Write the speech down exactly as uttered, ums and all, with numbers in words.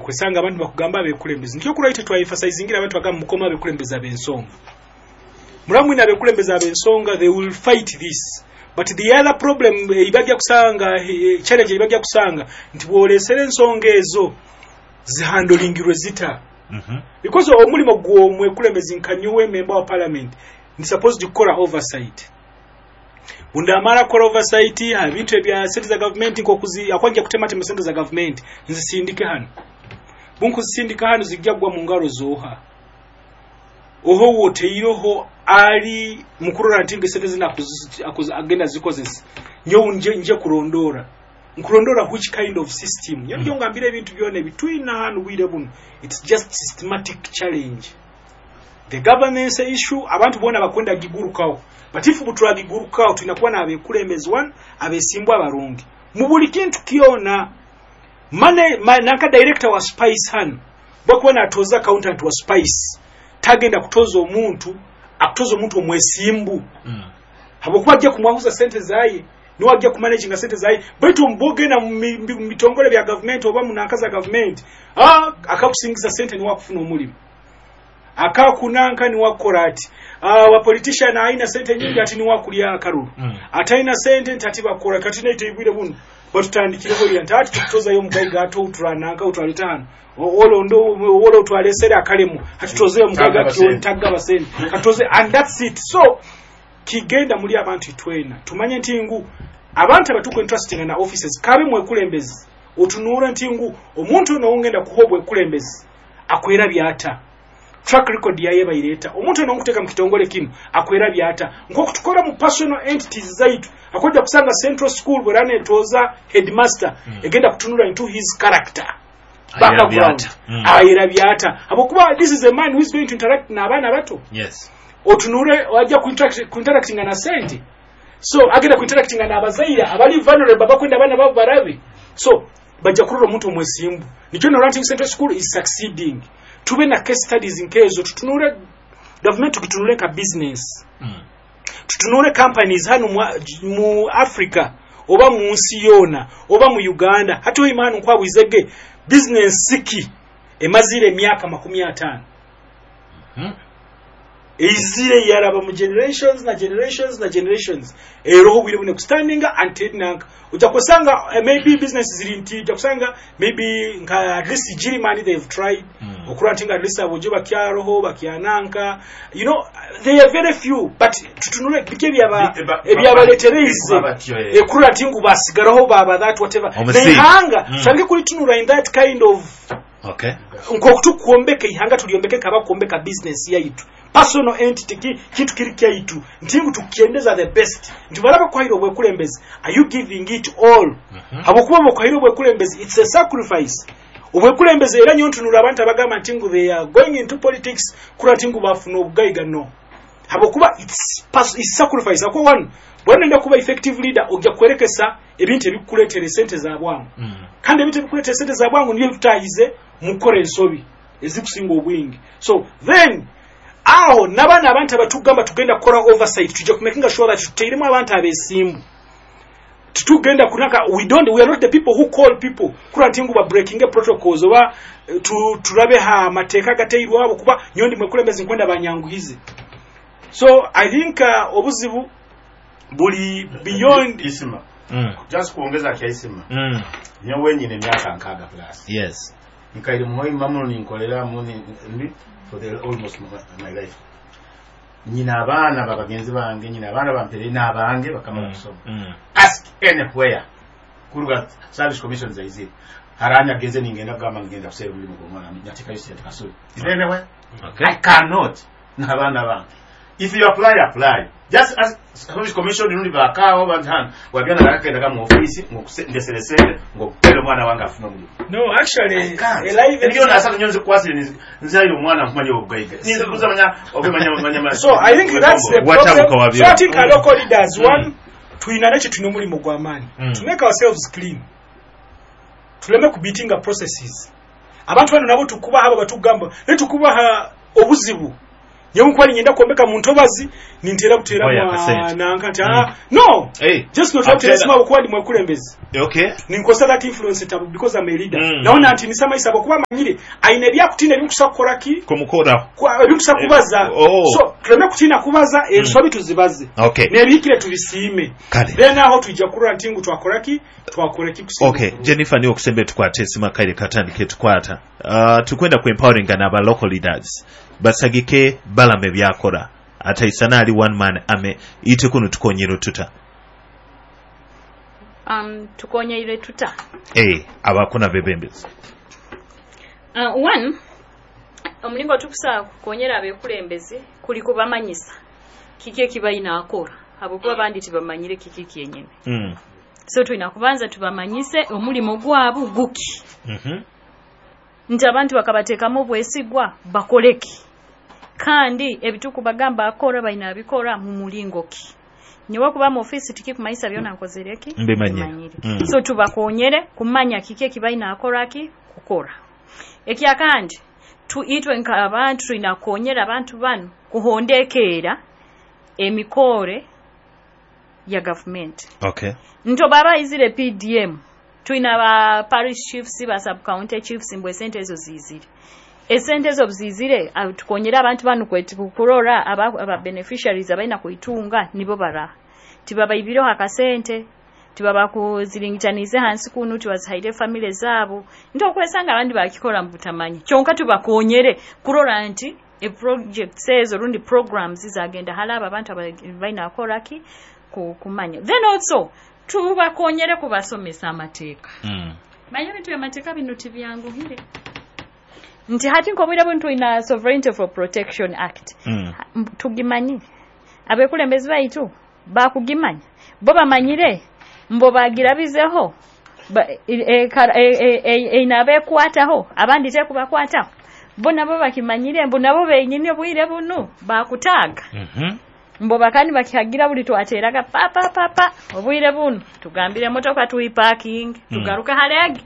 Okwesanga abantu bakugamba abekulembeze, nikyo kuraite twaemphasizingira abantu bagamba mukoma abekulembeze ab'ensonga. Muramwina abekulembeze ab'ensonga, they will fight this. But the other problem ebajja kusanga, eh, challenge ebajja kusanga nti bw'olesera ensonga ezo zihandlingirwe zita, Mhm. because omulimu gw'omwekulembeze nkanyowe member wa parliament ndi supposed kukola oversight. Bundamala kukola oversight ebintu ebya sente za gavumenti, nkokuzi akwajja kutematema sente za gavumenti nzisindike hano, bunkuzisindika hano zijja kugwa mu ngalo zoha oho woteiroho ali mukurora nti nge sente zino akuzi- akuzi- agenda zikozesa. Nyo nje, nje kulondora, nkulondora which kind of system nyo mm. Ngambira ebintu byona ebitwina hano bwire buno, it's just systematic challenge, the governance issue. Abantu bona bakwenda gigurukawo, but if butulagigurukawo tulina kuba n'abekulembezi one abesimbwa abarungi mu buli kintu kyona. Mane ma, nanka director wa Spice hano bwakuba natoza accountant wa Spice, tagenda kutoza omuntu akutoza omuntu omwesimbu, Mm. habwokuba ajja kumwahuza sente zaye, niwe ajja kumanaginga sente zaye. Baitu mbogenda mu mi- mu bitongole bya gavumenti oba mu nanka za gavumenti, ah, akakusingiza sente niwe akufuna omulimu, akakunanka niwe akukola ati, ah, wa politician alina sente nyingi ati niwe akulya akalulu, Mm. atalina sente nti ati bakola. Kati naite ibwire buno batutandikireho lya nti ati tukutozayo omugayiga ate otula nanka otwale tano olondo wolo otwalesere akalemu ati tutozeyo omugayiga. Tagaba sente. Tagaba sente katoze, and that's it. So kigenda muli abantu itwena tumanye nti ngu abantu abatuku entrusting na offices kabe mwekulembezi, otunuura nti ngu omuntu ono ongenda kuha obwekulembezi akwera byata, track record yaye bayireeta. Omuntu ono nkuteeka mu kitongole kino akwera byata, nk'okutukola mu personal entities zaitu. Akojja kusanga Central School bwera netooza headmaster, mm. egenda kutunula into his character background. Byata. Mm. Ayera byata, habwokuba this is a man who is going to interact n'abaana bato. Yes. Otunure wajja kuinteract- kuinteractinga na sente, so agenda kuinteractinga n'abazaire abali vulnerable abakwenda abaana babo barabe. So bajja kulora omuntu omwesimbu. Nikyo nolwa nti Central School is succeeding. Tube na case studies nkezo, tutunure gavumenti, tugitunule nka business, Mm. tutunule companies hano mu, mu Africa oba mu nsi yoona oba mu Uganda. Hati oimanu nkwabwizege business ki emazire emyaka makumi ataano, Mhm. eizire yaraba mu generations na generations na generations, eroho bwire bune kustandinga until nanka ojja kusanga, uh, maybe business ziri nti ojja kusanga maybe nka at least Jirimani, they've tried Mm. okura nti nga at least abojo bakyaroho bakyananka, you know they are very few. But tutunule biki ebyaba Bi- ba- ebyabaletereize ba- batyo, eh. ekurura nti ngu basigaraho baba that whatever. Omusingi. Neihanga Mm. tutandike kulitunura in that kind of Okay. nkokutukuombeka ihanga, tuliombeke kaba kuombeka business yaitu, personal entity, ki, kintu kiri kyaitu nti ngu tukiendeza the best nti balaba kwahira obwekulembezi, are you giving it all? Mhm. Habwokuba bwokwahira obwekulembezi, it's a sacrifice obwekulembezi. Era nyo ntunula abantu abagamba nti ngu they are going into politics kula nti ngu bafuna obugayiga, no, habwokuba it's, pers- it's sacrifice. Akuba one bwanenda kuba effective leader, ojja kwerekesa ebintu ebikuleetera esente za bwangu, Mm. kandi ebintu ebikuleetera esente za bwangu nibyo bitutayize mukukora ensobi ezikusinga obwingi. So then aho n'abaana abantu abatugamba tugenda kukola oversight, tujja kumakinga sure that tuteiremu abantu abesimbu. Titugenda kunaka, we don't we are not the people who call people kula nti ngu ba breaking protocols oba eh, tu, tulabe ha mateeka gateirwa abo kuba nyondi mwekulembezi nkwenda banyanguhize. So I think uh, obuzibu buli beyond. Isima, Mm. just kuongeza kya Isima, Mm. nyowe nyine emyaka nkaaga plus, Yes. nkaire muhoima muno, ninkolera muni ndi for the almost my, my life. Nyina abaana babagenzi bange, nyina abaana bampere n'abange bakamala kusoma. Mm. Ask anywhere kuruga Service Commission zaizire haranya genze ningenda kugamba ngenda kusera omulimu gw'omwana nyatekayo sente kasuli. Is there anywhere? Okay. I cannot n'abaana bange. If you apply, apply. Just ask Service Commission rundi bakaawo bantu wabyana bakagendaga mu office ndesere sente ng'okupera omwana wange afune omulimu. No, actually, I can't. a live Ebyo nasatu nyo nzikukwasire nzayira omwana nkumanya obugayiga ninzikuza manya obumanya manya. So I think that's the Watabuka problem. wabyo. So I think our local leaders, one, tuyina nekyo, tulina omulimu gw'amaanyi Mm. to make ourselves clean, tuleme kubeatinga processes. Abantu bano nabo tukubaha abo batugamba naye tukubaha obuzibu. Nyewe nkuba ninyenda kwombeka mu ntobazi, nintera Oya, buteramu akasente. nanka nti, ah, no, Hey. just not butera esimu abukuba ndi mwekulembezi. Okay. Ninkozesa that influence tabu because I'm a leader. Mm. Naona nti nisama isabo kuba manyire aine ebyakutina ebinkusa kukola ki, Kumukoraho. Kwa- ebinkusa kubaza. Oh. So tuleme kutiina kubaza ensobi, tuzibaze Okay. n'ebihikire tubisiime. Kale. Then aho tujja kurora nti ngu twakora ki, twakora ki kusinga Okay, okulungi. Jennifer, niwe okusembe tukwate esimu, akaire katandike tukwata. Uh, tukwenda ku empowering n'aba local leaders basagike balame byakora ataisana ali one man ame ite kuno tukonyero tuta. um, tukonyeire tuta? Eh, abakuna bebembezi. uh, one omulingo tukusobola kukonyera abekulembezi kuli kubamanyisa kiki ekibalina akora, habwokuba bandi tibamanyire kiki kyenyene. Mm. So tulina kubanza tubamanyise omulimu gwabu guki, Mm-hmm. nti abantu bakabateekamu obwesigwa bakoleki, kandi ebitukubagamba akora balina abikora mu mulingo ki. Nyowe kuba mu ofiisi tikikumanyisa byona nkozereki. Mbimanyire. Mbimanyire. Mm. So tubakonyere kumanya kiki ekibalina akoraki kukora. Ekyakandi, tu itwe nk'abantu tulina kukonyera abantu bano kuhondekeera emikore ya gavumenti. Okay. Nto baba izire P D M, tulina ba parish chiefs, ba sub county chiefs, mbwe esente ezo zizire, esente ezo zizire, ah, tukonyere abantu bano kweti kurora aba, aba beneficiaries abalina kuitunga nibo bara tibabaibireho akasente, tibabakuziringitanize hansi kunu, tibazihaire family zaabo. Nti okwesanga abandi bakikora mu butamanyi, kyonka tubakonyere kurora nti e projects ezo rundi programs zagenda halaba abantu aba- balina akoraki ku- kumanya. Then also tubakonyere kubasomesa amateeka. Mm. Manya ebintu byamateeka bino tibyanguhire, nti hati nk'obwire bunu tulina Sovereignty for Protection Act. Mm. M- tugimanyire abekulembezi baitu bakugimanya, bo bamanyire mbo bagirabizeho ba- e- e- kara- e- e- e- eina abekwataho, abandi tekubakwataho. Bo nabo bakimanyire mbu nabo benyini obwire bunu bakutaaga. Mm-hmm. Mbo bakandi bakihagira buli twateraga pa pa pa pa, obwire bunu tugambire emotoka tuyipakinge, Mm. tugaruke halegi.